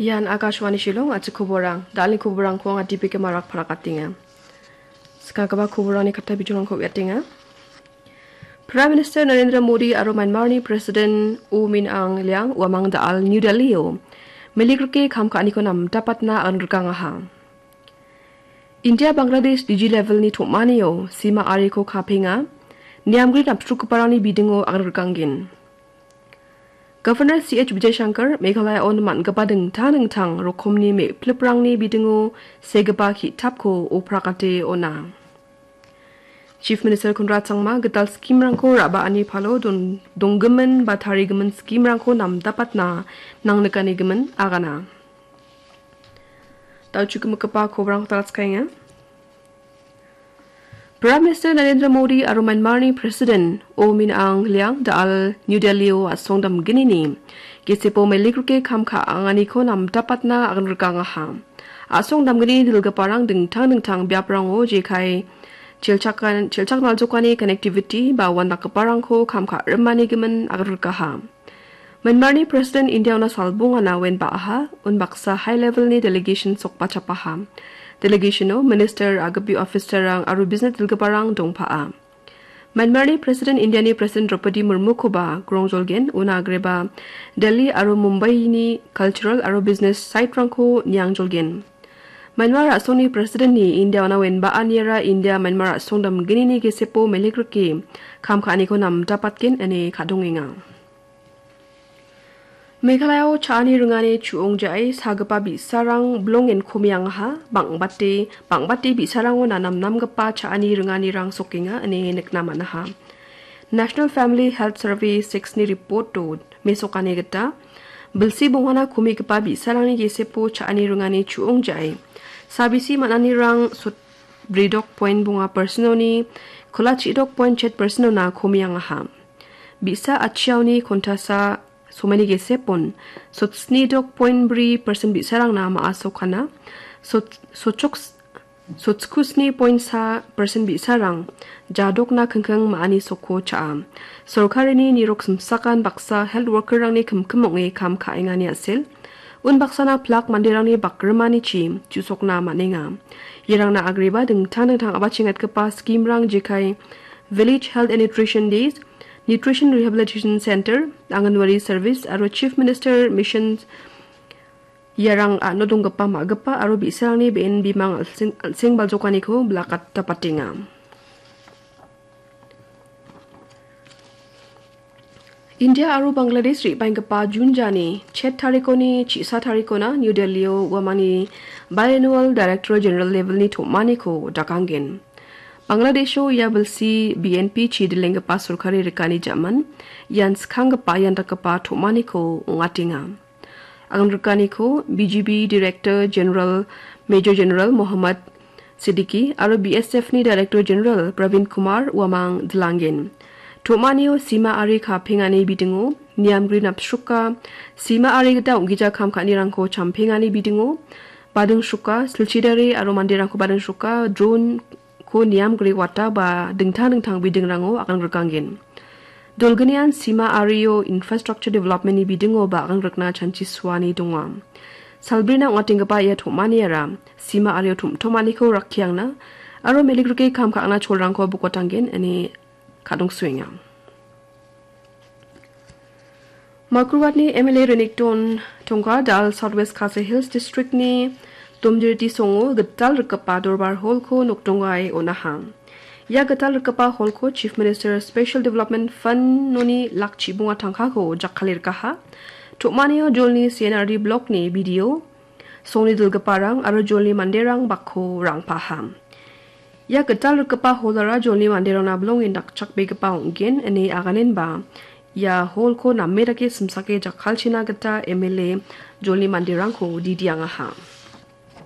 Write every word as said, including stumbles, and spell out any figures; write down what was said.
Ian Akashvani Shillong, a·chik koborang. Dalni koborangko anga D P K Marak parakatenga. Skanggipa koborangni katta bijolrangko uiatenga. Prime Minister Narendra Modi aro Myanmarni President U Min Aung Hlaing uamang da·al New Delhi-o meligrike kam ka·aniko namdapatna aganrikangaha. India Bangladesh D G level-ni tom·anio sima ariko kapenga, niamgri napchukgiparangni bidingo aganrikanggen. Governor C H Vijayashankar Meghalaya-on man·gipa dingtang dingtang rokomni me·pliprangni bidingo segipa ki·tapko oprakate on·a. Chief Minister Conrad Sangma gital scheme-rangko ra·baani palo don-, donggimin ba tarigimin scheme-rangko namdapatna nangnikanigimin agana. Dal·chukgimikgipa kobrangko talatskaenga. Prime Minister Narendra Modi aro Myanmarni President U Min Aung Hlaing da·al New Delhi-o a·song damgnini gesepo meligrike kam ka·anganiko namdapatna aganrikangaha. A·song damgni dilgiparang dingtang dingtang biaprango jekai chelchakan-, chelchaknaljokani connectivity ba uandakgiparangko kam ka·rimanigimin aganrikaha. Myanmarni President India-ona salbongana uen ba·aha, unbaksa high level-ni delegation sokbachapaha. Delegation-o minister, a·gipi officer-rang aro business dilgiparang dongpaha. Myanmarni President India-ni President Draupadi Murmukoba grongjolgen, una agreba Delhi aro Mumbai-ni cultural aro business site-rangko niangjolgen. Myanmar a·songni President-ni India-ona uen ba·aniara India-Myanmar a·song damgnini gesepo meligrike kam ka·aniko namdapatgen ine kadongenga. Meghalaya-o cha·ani ringani chu·ong ja·e sagipa bi·sarang bilongen komiangaha, bang·bate, bang·bate bi·sarango namnamgipa cha·ani ringanirang sokenga ine nikna man·aha. National Family Health Survey six-ni report-o mesokani gita, bilsi bongana komigipa bi·sarangni gesepo cha·ani ringani chu·ong ja·e, sabisi man·anirang sot-, bridok point bonga percent-oni, kola chidok point chet percent-ona komiangaha. Bi·sa atchiaoni kontasa somaini gesepon sotsni dok point bri persen bi·sarangna ma·a sokana. Sot-, sochok-, sotskusni point sa persen bi·sarang jadokna kingking ma·ani sokko cha·a. Sorkarini nirok simsakan baksa health worker-rangni kimkim ong·e kam ka·engani a·sel. Unbaksana plak manderangni bakrimanichi chu·sokna man·enga. Iarangna agreba dingtang dingtang a·bachengatgipa scheme-rang jekai Village Health and Nutrition Days, Nutrition Rehabilitation Center, Anganwadi Service aro Chief Minister Mission iarang a·no donggipa ma·gipa aro bi·sarangni be·en bimang al·seng, al·seng baljokaniko bilakatapatenga. India aro Bangladesh re·baenggipa Jun jani chet tarikoni chi·sa tarikona New Delhi-o uamangni biannual Director General level-ni tom·aniko dakanggen. Bangladesho ia bilsi B N P chidilenggipa sorkari rikani ja·man, ian skanggipa iandakgipa tom·aniko ong·atenga. Aganrikaniko B G B Director General Major General Mohammad Siddiqui aro B S F-ni Director General Pravin Kumar uamang dilanggen. Tom·anio sima ari kapengani bidingo, niamgri napchroka, sima ari gita ong·gija kam ka·anirangko champengani bidingo, badingchroka, silchidare aro manderangko badingchroka, drone-ko niamgri wata ba dingtang dingtang bidingrango agangrikanggen. Dolgnian sima ario infrastructure development-ni bidingo ba agangrikna chanchi suani donga. Salbrina ong·atenggipa ia tom·aniara sima ario tom·tomaniko rakkiangna aro meligrike kam ka·angna cholrangko bokotanggen ine kadongsoenga. Mawkyrwatni M L A Renikton Tongkar da·al South West Khasi Hills District-ni Domjiriti songo gital rikgipa Dorbar Hall-ko nokdongae on·aha. Ia gital rikgipa hall-ko Chief Minister Special Development Fund-oni lak chibonga tangkako jakkale rikaha. Tom·anio jolni C N R D block-ni B D O, songni dilgiparang aro jolni manderang bakko rangpaha. Ia gital rikgipa hall-ara jolni manderangna bilongen dakchakbegipa ong·gen ine aganenba ia hall-ko name dake simsake jakkalchina gita M L A jolni manderangko didiangaha.